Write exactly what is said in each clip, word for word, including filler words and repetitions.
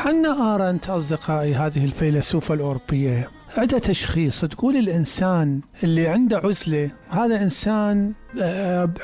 حنا آرنت أصدقائي هذه الفيلسوفة الأوروبية عندها تشخيص، تقول الإنسان اللي عنده عزلة هذا إنسان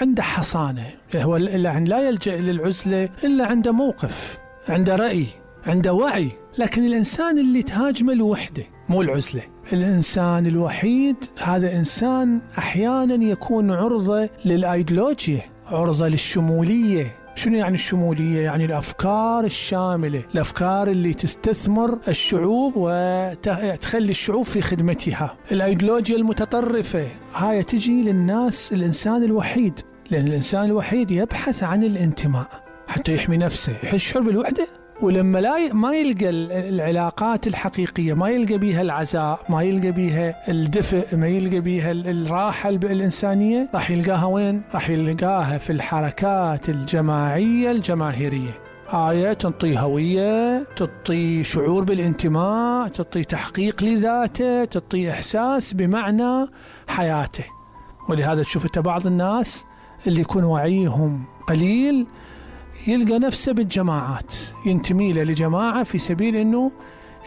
عنده حصانة، هو لا يلجأ للعزلة إلا عنده موقف، عنده رأي، عنده وعي. لكن الإنسان اللي تهاجمه الوحدة مو العزلة. الإنسان الوحيد هذا إنسان أحيانا يكون عرضة للأيديولوجيا، عرضة للشمولية. شنو يعني الشمولية؟ يعني الأفكار الشاملة، الأفكار اللي تستثمر الشعوب وتخلي الشعوب في خدمتها. الأيديولوجيا المتطرفة هاي تجي للناس الإنسان الوحيد، لأن الإنسان الوحيد يبحث عن الانتماء حتى يحمي نفسه، يحس بالوحدة. ولما لا ما يلقى العلاقات الحقيقية، ما يلقى بيها العزاء، ما يلقى بيها الدفء، ما يلقى بيها الراحة الإنسانية، راح يلقاها وين؟ راح يلقاها في الحركات الجماعية الجماهيرية. آية تعطي هوية، تعطي شعور بالانتماء، تعطي تحقيق لذاته، تعطي إحساس بمعنى حياته. ولهذا تشوف بعض الناس اللي يكون وعيهم قليل يلقى نفسه بالجماعات، ينتمي له لجماعة في سبيل أنه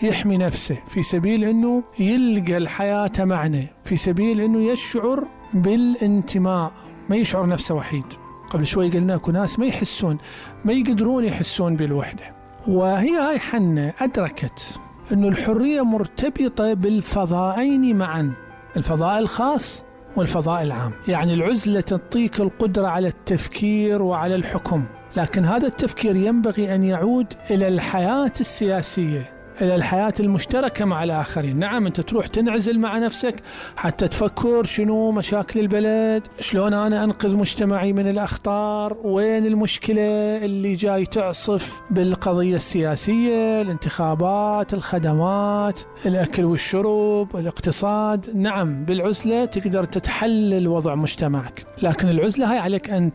يحمي نفسه، في سبيل أنه يلقى الحياة معنى، في سبيل أنه يشعر بالانتماء، ما يشعر نفسه وحيد. قبل شوي قلنا أكو ناس ما يحسون، ما يقدرون يحسون بالوحدة. وهي هاي حنة أدركت أنه الحرية مرتبطة بالفضائين معا، الفضاء الخاص والفضاء العام. يعني العزلة تعطيك القدرة على التفكير وعلى الحكم، لكن هذا التفكير ينبغي أن يعود إلى الحياة السياسية، إلى الحياة المشتركة مع الآخرين. نعم أنت تروح تنعزل مع نفسك حتى تفكر شنو مشاكل البلد، شلون أنا أنقذ مجتمعي من الأخطار، وين المشكلة اللي جاي تعصف بالقضية السياسية، الانتخابات، الخدمات، الأكل والشرب، الاقتصاد. نعم بالعزلة تقدر تتحلل وضع مجتمعك، لكن العزلة هاي عليك أن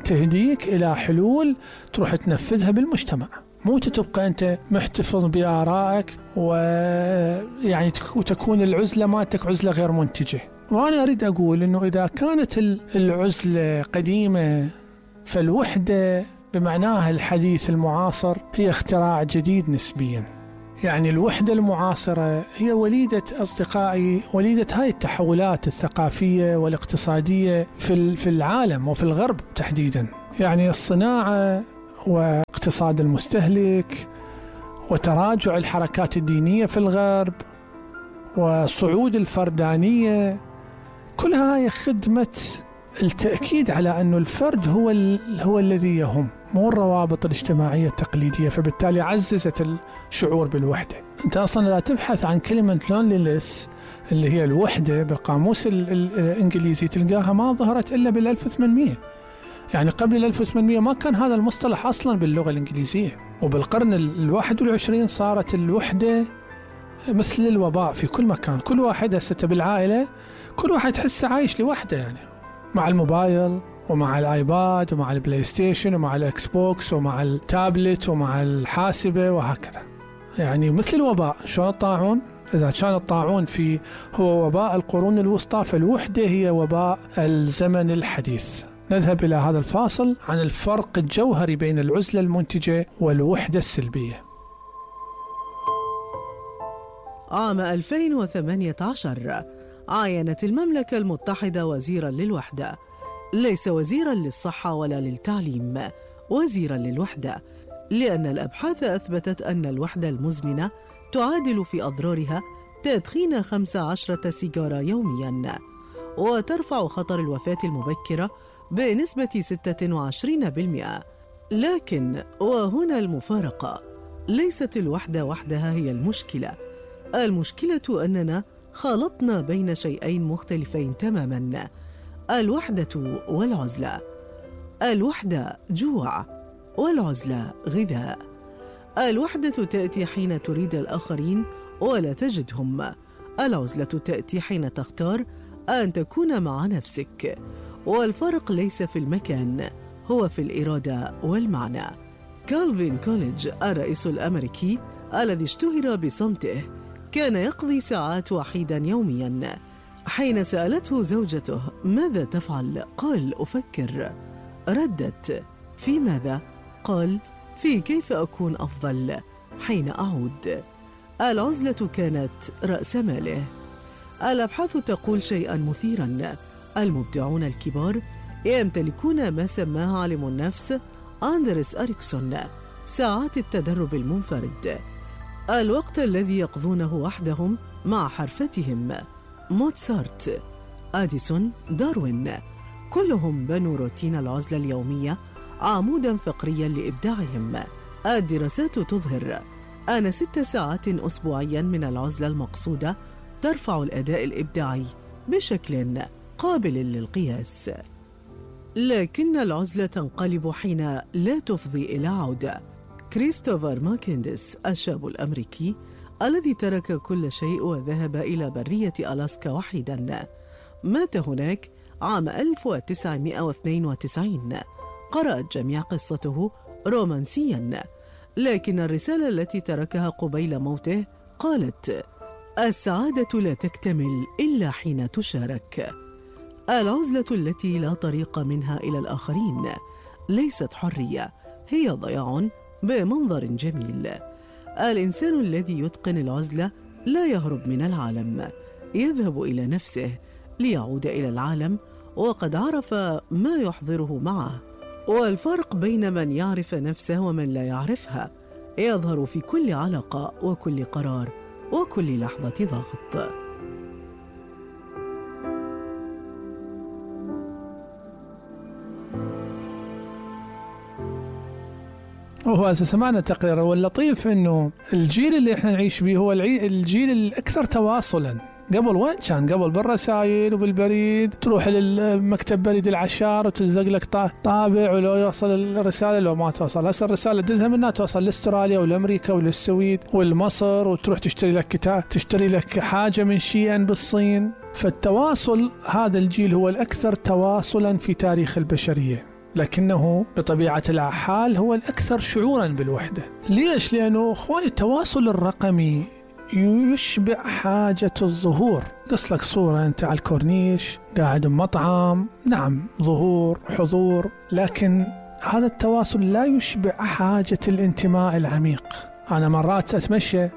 تهديك إلى حلول تروح تنفذها بالمجتمع، مو تبقى أنت محتفظ بآرائك ويعني وتكون العزلة مالتك عزلة غير منتجة. وأنا أريد أقول أنه إذا كانت العزلة قديمة فالوحدة بمعناها الحديث المعاصر هي اختراع جديد نسبيا. يعني الوحدة المعاصرة هي وليدة أصدقائي، وليدة هاي التحولات الثقافية والاقتصادية في في العالم وفي الغرب تحديدا. يعني الصناعة واقتصاد المستهلك وتراجع الحركات الدينية في الغرب وصعود الفردانية، كلها هي خدمة التأكيد على أنه الفرد هو هو الذي يهم، مو الروابط الاجتماعية التقليدية. فبالتالي عززت الشعور بالوحدة. أنت أصلا لا تبحث عن كلمة لونلينس اللي هي الوحدة بالقاموس الإنجليزي تلقاها ما ظهرت إلا بالألف وثمانمية. يعني قبل الألف وثمانمية ما كان هذا المصطلح أصلا باللغة الإنجليزية. وبالقرن الواحد والعشرين صارت الوحدة مثل الوباء في كل مكان. كل واحد هسه بالعائلة كل واحد تحسه عايش لوحده، يعني مع الموبايل ومع الآيباد ومع البلاي ستيشن ومع الإكس بوكس ومع التابلت ومع الحاسبة وهكذا. يعني مثل الوباء. شلون الطاعون؟ إذا كان الطاعون في هو وباء القرون الوسطى، فالوحدة هي وباء الزمن الحديث. نذهب إلى هذا الفاصل عن الفرق الجوهري بين العزلة المنتجة والوحدة السلبية. عام ألفين وثمانية عشر عاينت المملكة المتحدة وزيراً للوحدة، ليس وزيراً للصحة ولا للتعليم، وزيراً للوحدة، لأن الأبحاث أثبتت أن الوحدة المزمنة تعادل في أضرارها تدخين خمس عشرة سيجارة يومياً، وترفع خطر الوفاة المبكرة بنسبة ستة وعشرين بالمئة. لكن وهنا المفارقة، ليست الوحدة وحدها هي المشكلة. المشكلة أننا خلطنا بين شيئين مختلفين تماماً، الوحدة والعزلة. الوحدة جوع والعزلة غذاء. الوحدة تأتي حين تريد الآخرين ولا تجدهم، العزلة تأتي حين تختار أن تكون مع نفسك. والفرق ليس في المكان، هو في الإرادة والمعنى. كالفين كوليدج الرئيس الأمريكي الذي اشتهر بصمته كان يقضي ساعات وحيدا يوميا. حين سألته زوجته ماذا تفعل؟ قال أفكر. ردت في ماذا؟ قال في كيف أكون أفضل. حين أعود. العزلة كانت رأس ماله. الأبحاث تقول شيئاً مثيراً: المبدعون الكبار يمتلكون ما سماه عالم النفس أندريس أريكسون ساعات التدرب المنفرد، الوقت الذي يقضونه وحدهم مع حرفتهم. موتسارت، أديسون، داروين، كلهم بنوا روتين العزلة اليومية عموداً فقرياً لإبداعهم. الدراسات تظهر أن ست ساعات أسبوعياً من العزلة المقصودة ترفع الأداء الإبداعي بشكل قابل للقياس. لكن العزلة تنقلب حين لا تفضي إلى عودة. كريستوفر ماكينديس الشاب الأمريكي الذي ترك كل شيء وذهب إلى برية ألاسكا وحيداً مات هناك عام ألف وتسعمائة واثنين وتسعين. قرأت جميع قصته رومانسياً، لكن الرسالة التي تركها قبيل موته قالت: السعادة لا تكتمل إلا حين تشارك. العزلة التي لا طريق منها إلى الآخرين ليست حرية، هي ضياع بمنظر جميل. الإنسان الذي يتقن العزلة لا يهرب من العالم، يذهب إلى نفسه ليعود إلى العالم وقد عرف ما يحضره معه. والفرق بين من يعرف نفسه ومن لا يعرفها يظهر في كل علاقة وكل قرار وكل لحظة ضغط. وهو سمعنا تقرير، واللطيف انه الجيل اللي احنا نعيش به هو الجيل الاكثر تواصلا. قبل وين كان؟ قبل بالرسائل وبالبريد، تروح للمكتب بريد العشار وتلزق لك طابع ولو يوصل الرسالة لو ما توصل. هسه الرسالة تدزها منها توصل لاستراليا والامريكا والسويد والمصر، وتروح تشتري لك كتاب، تشتري لك حاجة من شيئا بالصين. فالتواصل هذا الجيل هو الأكثر تواصلا في تاريخ البشرية، لكنه بطبيعة الحال هو الأكثر شعورا بالوحدة. ليش؟ لأنه أخواني التواصل الرقمي يشبع حاجة الظهور. قص لك صورة أنت على الكورنيش قاعد بمطعم، نعم ظهور حضور، لكن هذا التواصل لا يشبع حاجة الانتماء العميق. أنا مرات أتمشى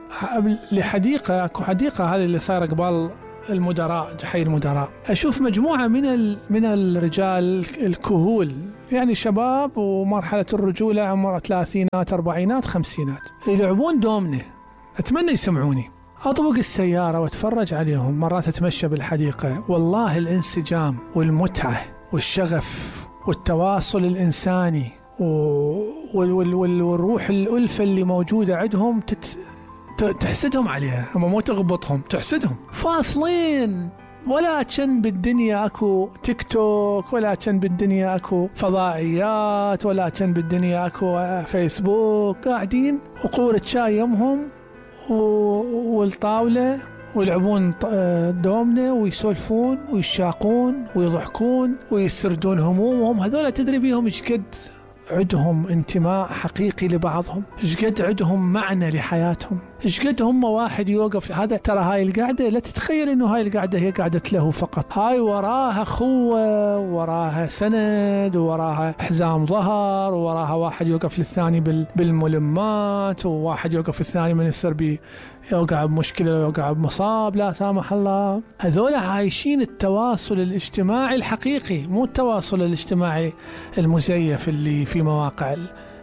لحديقة، أكو حديقة هذه اللي صايرة قبال المدراء، حي المدراء، أشوف مجموعة من من الرجال الكهول، يعني شباب ومرحلة الرجولة، عمر ثلاثينات أربعينات خمسينات، يلعبون دومنة. أتمنى يسمعوني. أطبق السيارة وأتفرج عليهم. مرات أتمشى بالحديقة، والله الانسجام والمتعة والشغف والتواصل الإنساني والروح الألفة اللي موجودة عندهم تت... تحسدهم عليها، هم مو تغبطهم، تحسدهم. فاصلين، ولا كان بالدنيا اكو تيك توك، ولا كان بالدنيا اكو فضائيات، ولا كان بالدنيا اكو فيسبوك. قاعدين وقورة شاي يمهم والطاولة ويلعبون دومنة ويسولفون ويشاقون ويضحكون ويسردون همومهم. هذولا تدري بيهم ايش قد عندهم انتماء حقيقي لبعضهم، ايش قد عندهم معنى لحياتهم، ايش قد هم واحد يوقف. هذا ترى هاي القعدة لا تتخيل انه هاي القعدة هي قعدة له فقط، هاي وراها خوة، وراها سند، وراها حزام ظهر، وراها واحد يوقف للثاني بالملمات، وواحد يوقف الثاني من يصير بي يوقع بمشكلة يوقع بمصاب لا سامح الله. هذول عايشين التواصل الاجتماعي الحقيقي، مو التواصل الاجتماعي المزيف اللي في مواقع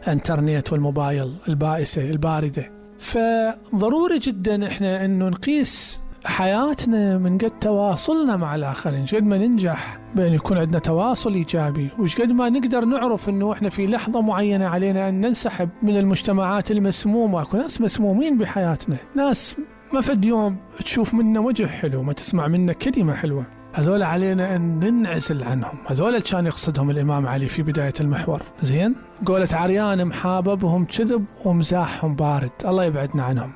الانترنت والموبايل البائسة الباردة. فضروري جدا احنا انه نقيس حياتنا من قد تواصلنا مع الآخرين، قد ما ننجح بأن يكون عندنا تواصل إيجابي، وش قد ما نقدر نعرف أنه إحنا في لحظة معينة علينا أن ننسحب من المجتمعات المسمومة. أكو ناس مسمومين بحياتنا، ناس ما فد يوم تشوف منا وجه حلو، ما تسمع منا كلمة حلوة. هذول علينا أن ننعزل عنهم. هذول كان يقصدهم الإمام علي في بداية المحور. زين، قولة عريان محاببهم كذب ومزاحهم بارد، الله يبعدنا عنهم.